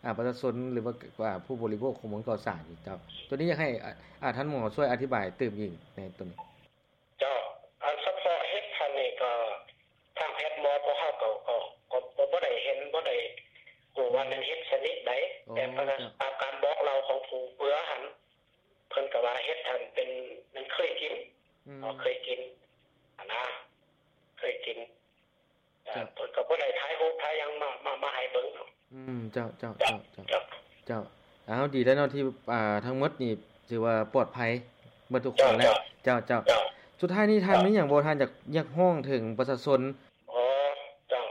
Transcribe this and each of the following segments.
ອ່າ ປະຊາຊົນ ຫຼືວ່າ ອ່າ ຜູ້ບໍລິໂພກຂອງເມືອງກໍ່ສ້າງນີ້ເຈົ້າ. ໂຕນີ້ຢາກໃຫ້ ອ່າ ທ່ານໝໍຊ່ວຍອະທິບາຍຕື່ມອີກໃນໂຕນີ້. ເຈົ້າ ອັນສະເພາະເຫັດຫັ້ນນີ້ກໍທາງແພດໝໍພວກເຮົາກໍ ກໍ ກໍ ກໍບໍ່ໄດ້ເຫັນ ບໍ່ໄດ້ຮູ້ວ່າແມ່ນເຫັດຊະນິດໃດ. ອໍ ແຕ່ ເຈົ້າ ຕາມການບອກເລົ່າຂອງຜູ້ເບືອຫັ້ນ ເພິ່ນກໍວ່າເຫັດຫັ້ນເປັນ ມັນເຄີຍກິນ ອືມ ເນາະ ເຄີຍກິນຫັ້ນນະ ເຄີຍກິນ. ເຈົ້າ ເພິ່ນກໍບໍ່ໄດ້ຖ່າຍຮູບຖ່າຍຫຍັງມາ ມາ ມາໃຫ້ເບິ່ງເນາະ. ອືມ ເຈົ້າ ເຈົ້າ ເຈົ້າ ເຈົ້າ ເຈົ້າ. ເຈົ້າ ເອົາ ດີແລ້ວເນາະທີ່ ອ່າ ທັງໝົດນີ້ຖືວ່າປອດໄພເບິດທຸກຄົນແລ້ວ. ເຈົ້າ ເຈົ້າ ເຈົ້າ ເຈົ້າ. ສຸດທ້າຍນີ້ທ່ານມີຫຍັງບໍ່ ທ່ານຢາກ ຢາກຮ້ອງເຖິງປະຊາຊົນ? ອໍ ເຈົ້າ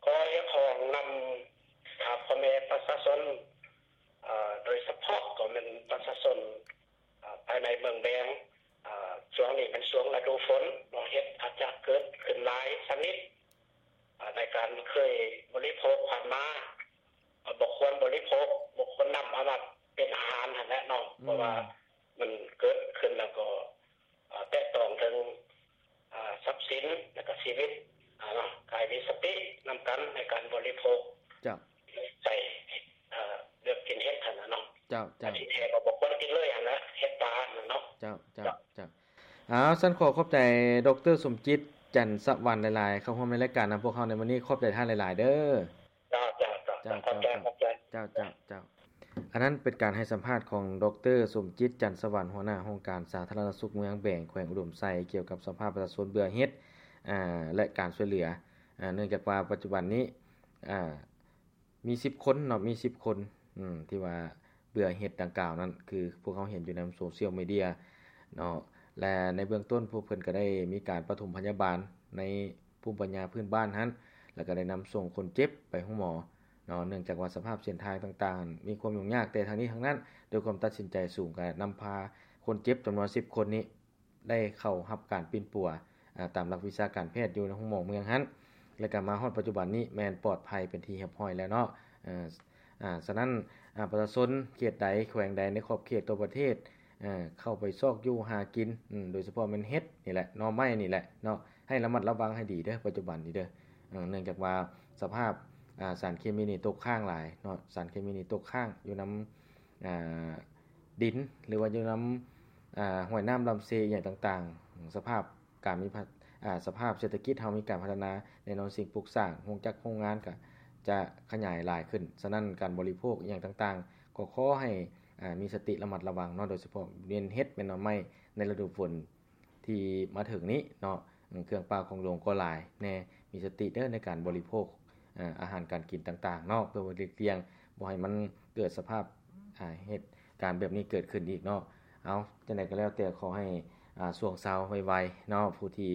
ຂໍຮຽກຮ້ອງນຳ ອ່າ ພໍ່ແມ່ປະຊາຊົນ ເອີ ໂດຍສະເພາະກໍແມ່ນປະຊາຊົນ ອ່າ ພາຍໃນເມືອງແບງ. ອ່າ ຊ່ວງນີ້ແມ່ນຊ່ວງລະດູຝົນເນາະ ເຫັດອາດຈະເກີດຂຶ້ນຫຼາຍຊະນິດ ອ່າ ໃນການເຄີຍບໍລິໂພກຜ່ານມາ ອ່າ ບໍ່ຄວນບໍລິໂພກ ບໍ່ຄວນນຳເອົາມາເປັນອາຫານຫັ້ນແຫຼະເນາະ. ອືມ ເພາະວ່າມັນເກີດຂຶ້ນແລ້ວກໍ ອ່າ ແຕະຕ້ອງເຖິງ ອ່າ ຊັບສິນ ແລະກະຊີວິດ ອ່າ ເນາະ ກາຍມີສະຕິນຳກັນໃນການບໍລິໂພກ. ເຈົ້າ ໃສ່ ເອີ ເລືອກກິນເຫັດຫັ້ນນະເນາະ. ເຈົ້າ ເຈົ້າ. ທີ່ແທ້ກໍບໍ່ຄວນກິນເລີຍຫັ້ນນະ ເຫັດປ່າຫັ້ນນະເນາະ. ເຈົ້າ ເຈົ້າ ເຈົ້າ ເຈົ້າ. ເອົາ ຊັ້ນຂໍຂອບໃຈ ດຣ ສົມຈິດ ຈັນສະຫວັນ ຫຼາຍໆ ເຂົ້າຮ່ວມໃນລາຍການນຳພວກເຮົາໃນມື້ນີ້. ຂອບໃຈທ່ານຫຼາຍໆເດີ. ເຈົ້າ ເຈົ້າ ເຈົ້າ ເຈົ້າ ຂອບໃຈ ຂອບໃຈ ເຈົ້າ ເຈົ້າ ເຈົ້າ. ອັນນັ້ນເປັນການໃຫ້ສຳພາດຂອງ ດຣ ສົມຈິດ ຈັນສະຫວັນ ຫົວໜ້າຫ້ອງການສາທາລະນະສຸກເມືອງແບງ ແຂວງອຸດົມໄຊ ກ່ຽວກັບສະພາບປະຊາຊົນເບື່ອເຫັດ ອ່າ ແລະ ການຊ່ວຍເຫຼືອ ອ່າ ເນື່ອງຈາກວ່າປັດຈຸບັນນີ້ ອ່າ ມີສິບຄົນເນາະ ມີສິບຄົນ ອືມ ທີ່ວ່າເບື່ອເຫັດດັ່ງກ່າວນັ້ນ ຄືພວກເຮົາເຫັນຢູ່ໃນໂຊຊຽວມີເດຍເນາະ ແລະ ໃນເບື້ອງຕົ້ນພວກເພິ່ນກໍໄດ້ມີການປະຖົມພະຍາບານໃນພູມປັນຍາພື້ນບ້ານຫັ້ນ ແລ້ວກໍໄດ້ນຳສົ່ງຄົນເຈັບໄປໂຮງໝໍເນາະ ເນື່ອງຈາກວ່າສະພາບເສັ້ນທາງຕ່າງໆ ມີຄວາມຫຍຸ້ງຍາກ. ແຕ່ທັງນີ້ທັງນັ້ນ ດ້ວຍຄວາມຕັດສິນໃຈສູງ ກໍນຳພາຄົນເຈັບຈຳນວນສິບຄົນນີ້ ໄດ້ເຂົ້າຮັບການປິ່ນປົວ ອາ ຕາມຫຼັກວິຊາການແພດຢູ່ໃນໂຮງໝໍເມືອງຫັ້ນ ແລະ ກໍມາຮອດປັດຈຸບັນນີ້ແມ່ນປອດໄພເປັນທີ່ຮຽບຮ້ອຍແລ້ວເນາະ. ເອີ ອາ ສະນັ້ນ ອາ ປະຊາຊົນເຂດໃດ ແຂວງໃດໃນຂອບເຂດທົ່ວປະເທດ ເອີ ເຂົ້າໄປຊອກຢູ່ຫາກິນ ອາ ໂດຍສະເພາະແມ່ນເຫັດນີ້ແຫຼະ ໜໍ່ໄມ້ນີ້ແຫຼະເນາະ ໃຫ້ລະມັດລະວັງໃຫ້ດີເດີ ປັດຈຸບັນນີ້ເດີ. ເອີ ເນື່ອງຈາກວ່າສະພາບ ອາ ສານເຄມີນີ້ຕົກຄ້າງຫຼາຍເນາະ ສານເຄມີນີ້ຕົກຄ້າງຢູ່ນຳ ອາ ດິນ ຫຼືວ່າຢູ່ນຳ ອາ ຫ້ວຍນ້ຳລຳເຊອີ່ຫຍັງຕ່າງໆ ສະພາບການມີ ອາ ສະພາບເສດຖະກິດເຮົາມີການພັດທະນາ ແນ່ນອນສິ່ງປຸກສ້າງ ໂຮງຈັກໂຮງງານກໍຈະຂະຫຍາຍຫຼາຍຂຶ້ນ. ສະນັ້ນການບໍລິໂພກອີ່ຫຍັງຕ່າງໆ ກໍຂໍໃຫ້ ອາ ມີສະຕິລະມັດລະວັງເນາະ ໂດຍສະເພາະແມ່ນເຫັດແມ່ນໜໍ່ໄມ້ໃນລະດູຝົນ ທີ່ມາເຖິງນີ້ເນາະ ເຄື່ອງປ່າຂອງຫຼວງກໍຫຼາຍແດ່ ມີສະຕິເດີໃນການບໍລິໂພກ ອາ ອາຫານການກິນຕ່າງໆເນາະ ເພື່ອວ່າຫຼີກລ່ຽງບໍ່ໃຫ້ມັນເກີດສະພາບ ອາ ເຫດການແບບນີ້ເກີດຂຶ້ນອີກເນາະ. ເອົາ ຈັ່ງໃດກໍແລ້ວແຕ່ ຂໍໃຫ້ ອາ ຊ່ວງເຊົາໄວໆເນາະ ຜູ້ທີ່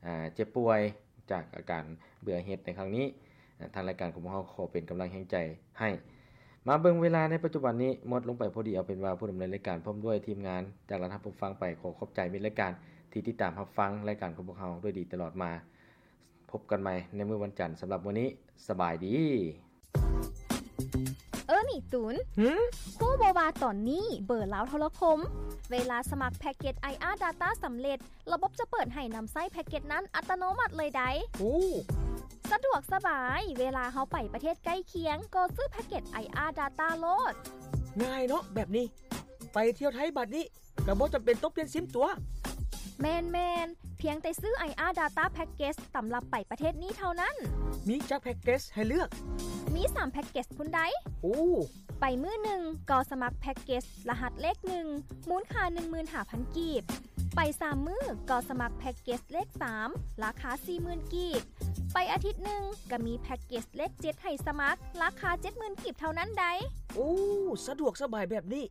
ອາ ເຈັບປ່ວຍຈາກອາການເບື່ອເຫັດໃນຄັ້ງນີ້ ອາ ທາງລາຍການຂອງພວກເຮົາຂໍເປັນກຳລັງແຮງໃຈໃຫ້. ມາເບິ່ງເວລາໃນປັດຈຸບັນນີ້ໝົດລົງໄປພໍດີ ເອົາເປັນວ່າຜູ້ດຳເນີນລາຍການພ້ອມດ້ວຍທີມງານຈາກລັດຮັບຜູ້ຟັງໄປ ຂໍຂອບໃຈມິດລາຍການທີ່ຕິດຕາມຮັບຟັງລາຍການຂອງພວກເຮົາດ້ວຍດີຕະຫຼອດມາ. ພົບກັນໃໝ່ໃນມື້ວັນຈັນ ສຳລັບມື້ນີ້ ສະບາຍດີ. ເອີ ນີ້ຕູນ ຫື? ຮູ້ບໍ່ວ່າຕອນນີ້ເບີລາວໂທລະຄົມ ເວລາສະໝັກແພັກເກັດ ໄອອາ Data ສຳເລັດ ລະບົບຈະເປີດໃຫ້ນຳໃຊ້ແພັກເກັດນັ້ນອັດຕະໂນມັດເລີຍໃດ໋. ໂອ້ ສະດວກສະບາຍ ເວລາເຮົາໄປປະເທດໃກ້ຄຽງ ກໍຊື້ແພັກເກັດ ໄອອາ Data ໂລດ. ງ່າຍເນາະແບບນີ້ ໄປທ່ຽວໄທບາດນີ້ ກໍບໍ່ຈຳເປັນຕ້ອງປ່ຽນຊິມຕົວະ. ແມ່ນໆ ພຽງແຕ່ຊື້ ໄອອາ Data Package ຕຳລັບໄປປະເທດນີ້ເທົ່ານັ້ນ. ມີຈັກແພັກເກັດໃຫ້ເລືອກ? ມີສາມແພັກເກັດພຸ້ນໃດ໋. ໂອ້ ໄປມື້ໜຶ່ງກໍສະໝັກແພັກເກັດລະຫັດເລກໜຶ່ງ ມູນຄ່າໜຶ່ງໝື່ນຫ້າພັນກີບ. ໄປສາມມື້ກໍສະໝັກແພັກເກັດເລກສາມ ລາຄາສີ່ໝື່ນກີບ. ໄປອາທິດໜຶ່ງກໍມີແພັກເກັດເລກເຈັດໃຫ້ສະໝັກ ລາຄາເຈັດໝື່ນກີບເທົ່ານັ້ນໃດ໋. ໂອ້ ສະດວກສະບາຍແບບນີ້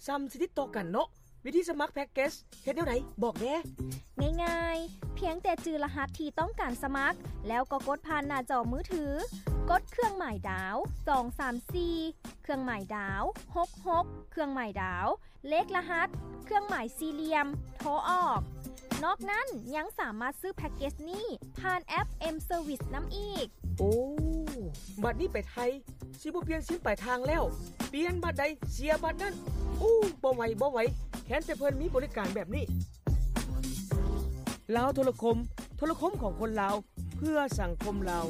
ສ່ຳຊິຕິດຕໍ່ກັນເນາະ. ວິທີສະໝັກແພັກເກັດເຮັດແນວໃດ ບອກແດ່. ງ່າຍໆ ພຽງແຕ່ຈື່ລະຫັດທີ່ຕ້ອງການສະໝັກ ແລ້ວກໍກົດຜ່ານໜ້າຈໍມືຖື ກົດເຄື່ອງໝາຍດາວ ສອງສາມສີ່ ເຄື່ອງໝາຍດາວ ຫົກຫົກ ເຄື່ອງໝາຍດາວ ເລກລະຫັດ ເຄື່ອງໝາຍສີ່ຫຼ່ຽມ ໂທອອກ. ນອກນັ້ນຍັງສາມາດຊື້ແພັກເກັດນີ້ຜ່ານແອັບ M Service ນຳອີກ. ໂອ້ ບາດນີ້ໄປໄທ ຊິບໍ່ປ່ຽນຊິມປາຍທາງແລ້ວ ປ່ຽນບາດໃດເສຍບາດນັ້ນ. ໂອ້ ບໍ່ໄຫວ ບໍ່ໄຫວ ແຄ້ນແຕ່ເພິ່ນມີບໍລິການແບບນີ້. ລາວໂທລະຄົມ ໂທລະຄົມຂອງຄົນລາວ ເພື່ອສັງຄົມລາວ.